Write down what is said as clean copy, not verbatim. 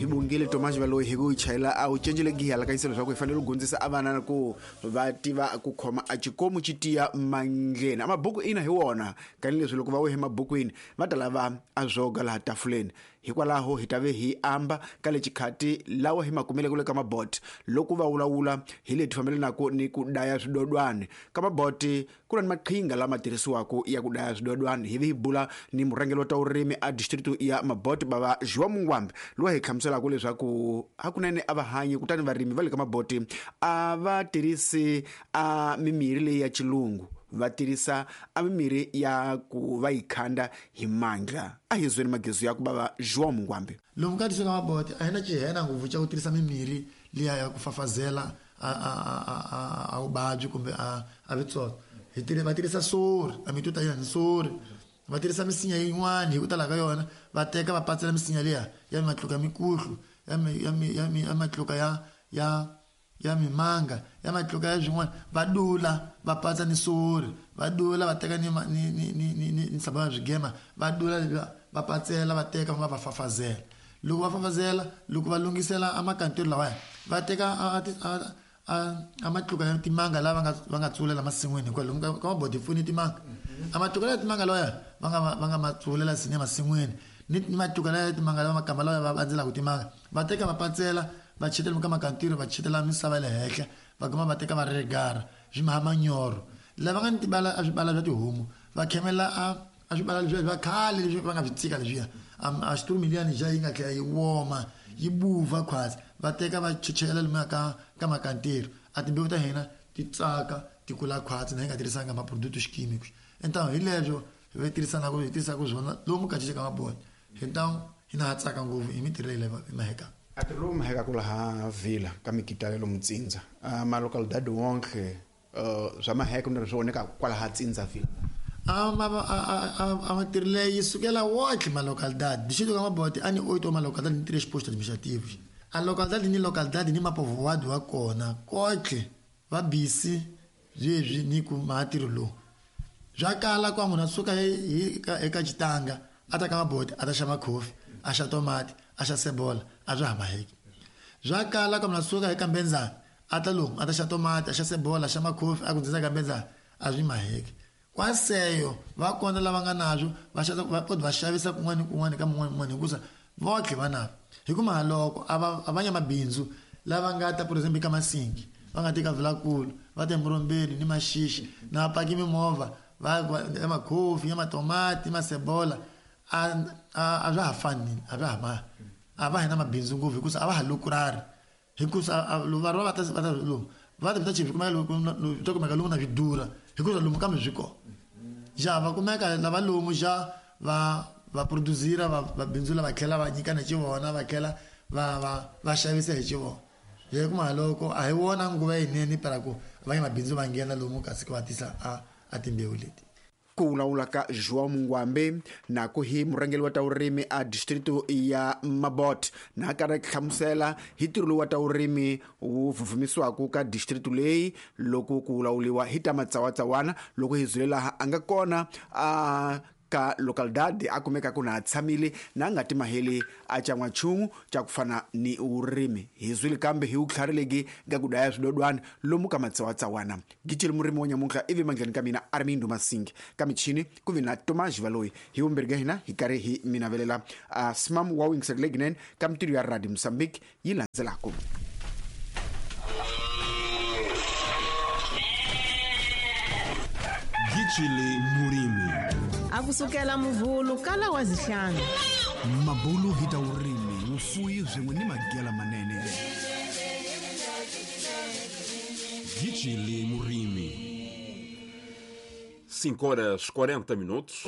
Hi bongile Tomas Valoyi hi ku yi chayela a wu cencele giya la kanyisa leswaku hi fanele ku dyondzisa a vana ku va tiva ku khoma a xikomu xi tiya mandleni. A mabuku ina hi wona tanihileswi loko va wehe mabukwini va ta lava a zwoga laha tafuleni. Hikwalaho hi ta ve hi amba ka le xikhati lawa hi ma kumeleke le ka mabot loko va vulavula hi leti fambelanaka ni ku daya swidodwani. Ka mabot ku na ni maqhinga lama tirhisiwaka ya ku daya swidodwani. Hi vi hi bula ni murhangeri wa ta vurimi a district ya Mabot bava João Mungwambe loyi hi hlamuselaka leswaku hakunene a va hanyi kutani varimi va le ka Maboti a va tirhisi a mimirhi leyi ya xilungu, va tirhisa a mimirhi ya ku va yi khanda hi mandla. A hi zweni magezu ya ku bava João Mungwambe. Lomu ka district ya Maboti a hi na xihena ngopfu xa ku tirhisa mimirhi liya ya ku fafazela a vuvabyi kumbe a vitsotso. Hi va tirhisa sori, a mituta ya ni sori. Va tirhisa misinya yin'wana hi ku tala ka yona, va teka va patsela misinya liya ya matluka ya mikuhlu, ya matluka ya mimanga, ya matluka ya swin'wana, va dula va patsa ni sori, va dula va teka ni nsamba ya swigema, va dula va patsela, va teka va fafazela. Loko va fafazela, loko va lunghisela a makantelo lawaya, va teka a matluka ya timanga lava va nga tsulela masin'wini, hikwalaho lomu ka mabodi pfuni timanga. A matluka ya timanga lawaya va nga ma tsulela sine masin'wini, ni matluka ya timanga lawa makamba lawa va andzelaka timanga, va teka va patsela, va chetela ka makantiro, va chetela misava le henhla, va guma va teka va regara swi maha manyoro. Lava nga ni tibala a swibala swa tihomu, va khemela a swibala leswiya swa khale leswi va nga swi tshika leswiya, a xiturumiliyani xa yi nga tlhela yi woma yi buva khwatsi, va teka va chechela lomuya ka makantiro, a timbewu ta hina ti tsaka ti kula khwatsi na hi nga tirhisanga ma-produto químicos. Então hi leswo hi tirhisanaka hi tirhisaka swona lomu ka ka mabodi. Então hina ha tsaka ngopfu hi mintirho leyi hi maheka. A ti lomu mahekaku laha Vila ka mikitale lomu Tsindza. A ma localidade wonke swa maheka ni swi voneka kwalaha Tsindza Vila. A matirho leyi yi sukela wonke ma localidade. Distrito ka Maboti a ni oito ma localidade ni três postos administrativos. A localidade ni localidade ni mapovoado wa kona kotlhe va busy sweswi ni ku matirho lowu. Swa kala kwa munhu a suka eka xitanga a ta ka Maboti a ta xava coffee, a xa tomati, a xa sebola, a swa ha maheki. Swa kala kwa munhu a suka eka Mbenzana a ta lomu a ta xa tomati, a xa sebola, a xa makhofi, a ku ndzindza ka Mbenzana, a swi maheki. Kwaseyo va kona lava nga nazwo va xavisa, va kota va xavisa kun'wana ni kun'wana ka mun'wana ni mun'wana, hikusa votlhe va navyo. Hi ku mahaloko a va nya mabindzu lava nga ta, por exemple, ka Masingi, va nga teka Vilakulu, va ta eMurombeni ni Maxixi, na va paki mimovha, va ya makhofi, ya matomati, masebola, a swa ha fani, a swa ha ma, a va hi na mabindzu ngopfu hikusa a va ha lukurari. Hikusa va ri va ta va ta lomu, va ta ta chivi kumeka lomu, ta kumeka lomu na swi durha, hikusa lomu kambe swi kona. Ja va kumeka lava lomu ja va producira, va bindzula, va tlhela va nyikana hi xivona, va tlhela va xavisa hi xivona. Hi ku mahaloko a hi wona nguva yinene para ku va ya mabindzu va nghena lomu kasi ku va tisa a timbewu leti. Ku vulavula ka João Mungwambe na ku hi murhangeri wa ta vurimi a district ya Mabot na ka ra hlamusela hi ntirho lowu wa ta vurimi wu vhuvhumisiwaka ka district leyi loko ku vulavuriwa hi ta matsawatsawana. Loko hi zule laha a nga kona a ka localidade a kumeka ku na tshamile na nga ti maheli a chan'wanchumu xa ku fana ni vurimi. Hi zwile kambe hi vutlharileki ka ku daya swidodwana lomu ka matsawatsawana. Gicile murimi wa nyamuntlha ivi mandleni ka mina Armindo Masingi, ka michini ku vi na Tomas Valoyi. Hi vumbirhi ka hina hi karhi hi mi navelela a smam wa wingiselo leyinene ka mintirho ya Radio Mozambique yi landzelaka. Gicile murimi. A kusukela muvhulu kala wa zihlanu. Mabulu hi ta vurimi, vufuwi swin'we ni magela manene. Gicile murimi. 5 horas 40 minutos.